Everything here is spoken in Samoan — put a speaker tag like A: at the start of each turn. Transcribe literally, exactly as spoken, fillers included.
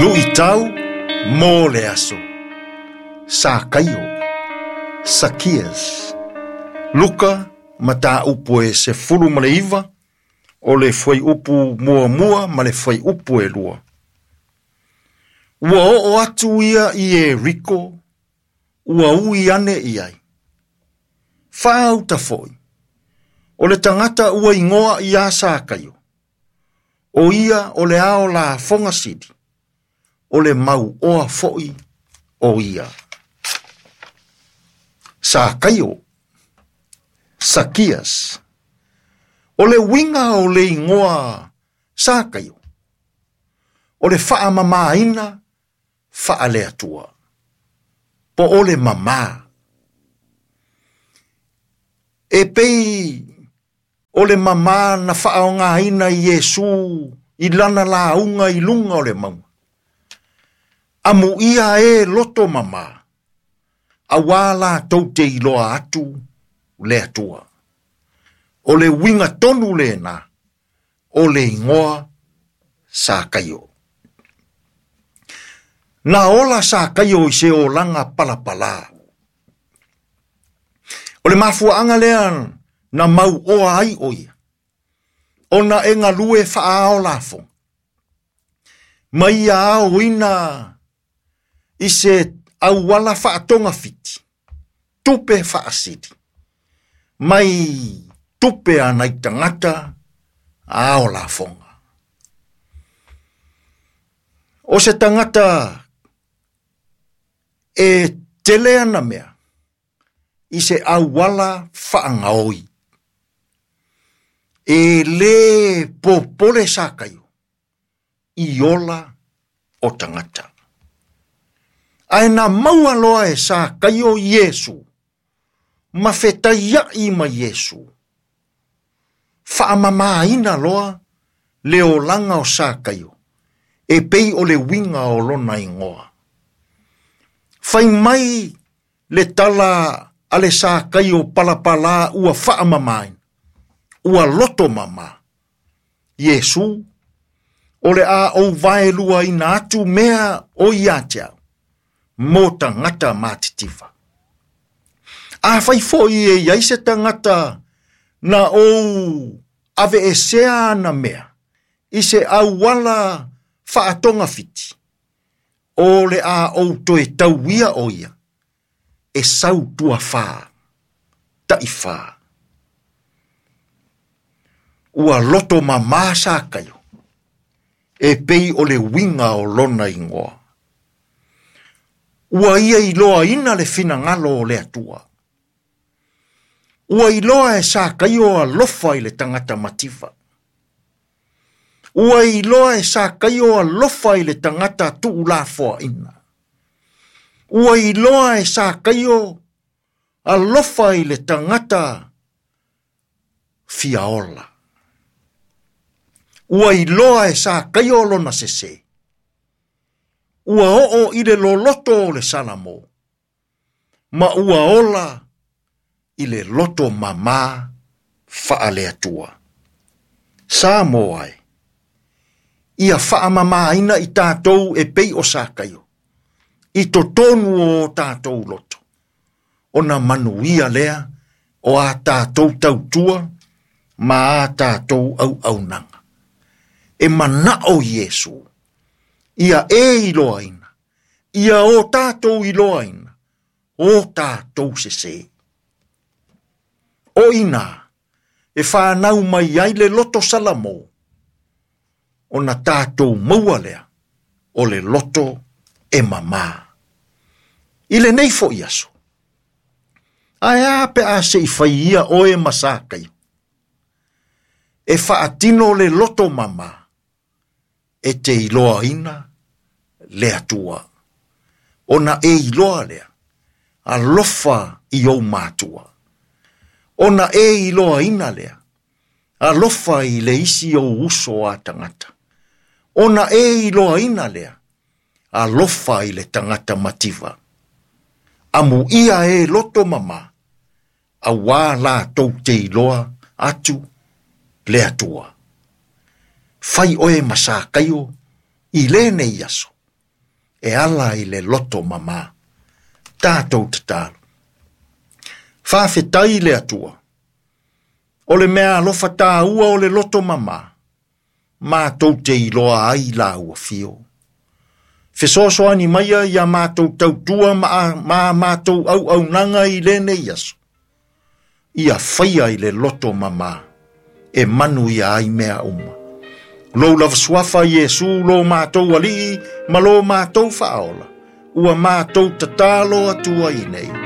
A: Luʻitau mo le aso. Sakaio, Sakias. Luka mataupu e sefulu ma le iva, o le fuaiupu muamua ma le fuaiupu e lua. Ua oo atu ia i Ieriko, ua ui ane i ai. Faauta foi, o le tagata ua igoa ia Sakaio, o ia o le ao lafoga sili, o le mauoa foi o ia. Sakaio, Sakias. O le uiga o le igoa Sakaio, o le faamamaina faaleatua, po o le mamā. E pei o le mamā na faaogaina i Iesu i lana lauga i luga o le mauga. Amuia e loto mamā, auā latou te iloa atu le Atua. O le uiga tonu lena o le igoa Sakaio. Na ola Sakaio i se olaga palapalā. O le mafuaaga lea na mauoa ai o ia, ona e galue faaao lafoga, ma ia aoina i se auala faatogafiti, tupe faasili, mai tupe a nai tagata ao lafoga. O se tagata e tele ana mea i se auala faagaoi, e lē popole Sakaio i ola o tagata. Ae na maua loa e Sakaio Iesu, ma fetaiaʻi ma Iesu, faamamaina loa le olaga o Sakaio, e pei o le uiga o lona igoa. Fai mai le tala a le Sakaio palapalā ua faamamaina, ua loto mamā. Iesu, o le a ou vaeluaina atu mea o ia te au, mo tagata matitiva. Afai foi e iai se tagata na ou aveesea ana mea, i se auala faatogafiti, o le a ou toe tauia o ia, e sau tuafā, taʻifā. Ua loto mamā Sakaio, e pei o le uiga o lona igoa. Ua ia iloaina le finagalo o le Atua. Ua iloa e Sakaio alofa i le tagata mativa. Ua iloa e Sakaio alofa i le tagata tuulafoaina. Ua iloa e Sakaio alofa i le tagata fiaola. Ua iloa e Sakaio lona sesē. Ua oo i le loloto o le Salamo, ma ua ola i le loto mamā faaleatua. Samoa e, ia faamamaina i tatou e pei o Sakaio, i totonu o tatou loto, ona manuia lea o a tatou tautua ma a tatou auaunaga. E manao Iesu, ia e iloaina, ia o tatou iloaina, o tatou sesē. O ina, e whanau mai ai le loto Salamo, ona tatou maua lea, o le loto e mamā. I lenei foi aso, ae a pe a se i fai ia oe ma Sakaio, e faatino le loto mamā, e te iloaina le Atua. Ona e iloa lea, alofa i ou matua. Ona e iloaina lea, alofa i le isi ou uso a tagata. Ona e iloaina lea, alofa i le tagata mativa. Amuia e loto mamā, auā latou te iloa atu le Atua. Fai oe ma Sakaio i lenei aso. E ala i le loto mamā. Tātou tatalo. Faafetai le Atua. O le mea alofa tāua o le loto mamā. Mātou te iloa ai la ua fio. Fesoasoani maia ia mātou tautua ma, ma mātou au aunaga i lenei aso. Ia faia i le loto mamā. E manu ia ai mea uma. Lou lava suafa Iesu lo mātou alii ma lo mātou faaola. Ua mātou tatalo atua i nei.